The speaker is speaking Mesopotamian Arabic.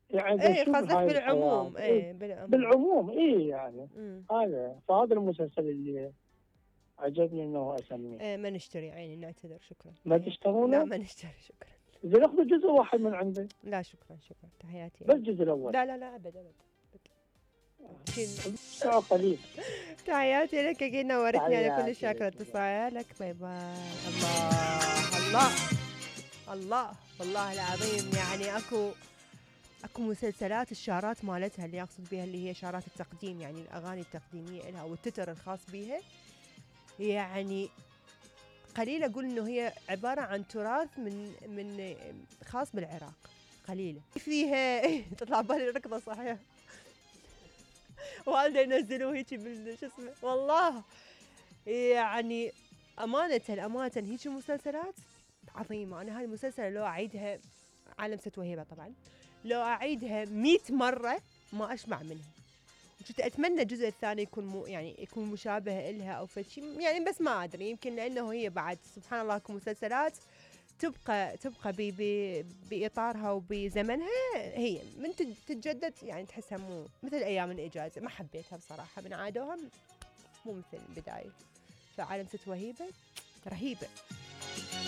يعني اي بشوف قصدك هاي الحياة بالعموم، اي بالعموم. بالعموم يعني امم فهذا المسلسل اللي عجبني انه اسميه. ما نشتري عيني، نعتذر، شكرا، ما تحياتي. لا تشتغلونه؟ ما نشتري، شكرا. اذا ناخذ جزء واحد من عنده. لا شكرا، شكرا، تحياتي بس يعني. الجزء الاول. لا لا لا، ابد ابد. ساعة قليل. تحياتي لك، اكيد نورتني، انا كل تحياتي شاكرة لك. اتصالك، باي باي. الله الله الله، والله العظيم يعني اكو مسلسلات الشارات مالتها، اللي اقصد بها اللي هي شارات التقديم، يعني الاغاني التقديميه لها والتتر الخاص بها، يعني قليل اقول انه هي عباره عن تراث من خاص بالعراق، قليله فيها. تطلع بالي ركضه صحيح. والده ينزلوا هيك شو اسمه، والله يعني امانه هيك مسلسلات عظيمه. انا هاي المسلسل لو اعيدها، عالم ست وهيبه طبعا، لو اعيدها 100 مره ما اشبع منها. كنت اتمنى الجزء الثاني يكون يعني يكون مشابه إلها او فشي يعني، بس ما ادري، يمكن لانه هي بعد سبحان الله اكو مسلسلات تبقى باطارها وبزمنها، هي من تتجدد يعني تحسها مو مثل ايام الاجازه، ما حبيتها بصراحه من عادوها، مو مثل البدايه. فعالم ست وهيبه رهيبه.